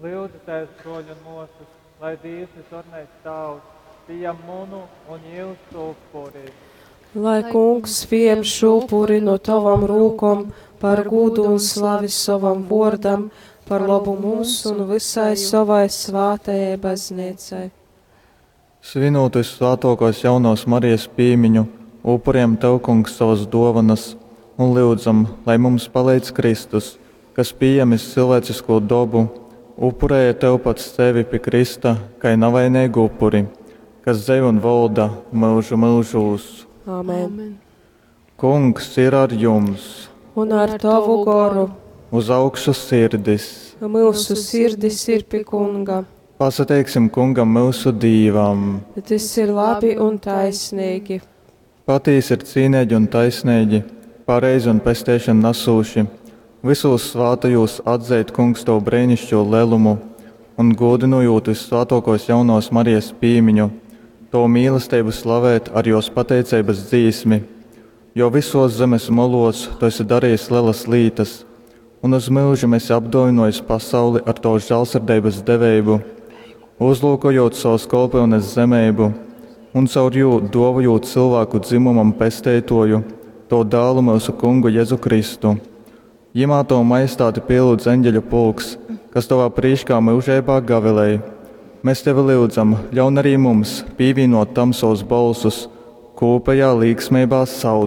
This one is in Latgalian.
Lyudzitēs, bruoļi un muosys, lai Dīvs Visvarenais Tāvs pījam munu un jūsu upuri. Lai kungs pieņem šo upuri no tavam rūkom par gūdu un slavi sovam vōrdam, par lobu mums un visai savai svātajai baznīcai. Svinūt vyssvātōkōs Jaunovas Marijas pīmiņu, upurejam Tev, Kungs, sovas dōvonas un lyudzam, lai mums paleidz Kristus, kas, pījēmis cilvēcisku dobu, upurēja Tev pats sevi pi krysta kai navaineigu upuri, kas dzeivoj un volda myužu myužūs. Amen. Amen. Kungs ir ar jums! Un ar tavu goru Uz augšu sirdis! mūsu sirdis ir pie kunga. Pasateiksim Kungam myusu Dīvam! Tas ir labi un taisnīgi. Patīsi ir cīneigi un taisneigi, pareizi un pesteišonu nasūši, vysūs svātajūs atzeit, Kungs, Tavu breinišķo lelumu un gūdynojot vyssvātōkōs Jaunovas Marijas pīmiņu, Tavu mīlesteibu slavēt ar jos pateiceibas dzīsmi, jo visos zemes molos Tu esi darījis lielas lītas un uz myužim esi apdōvinojis pasauli ar Tavas žālsirdeibas deveibu, uzlūkojot savas kolpyunes zemeibu un caur jū dōvojot cilvēku dzimumam pesteitoju, Tavu dālu myusu kungu Jezu Kristu. Jimā Tavu majestāti pielūdz eņģeļu pulks, kas Tavā prīškā myužeibā gavilej. Mēs Tevi lyudzam, ļaun arī mums pīvīnot tam savus bolsus, kūpējā līksmeibā saucot.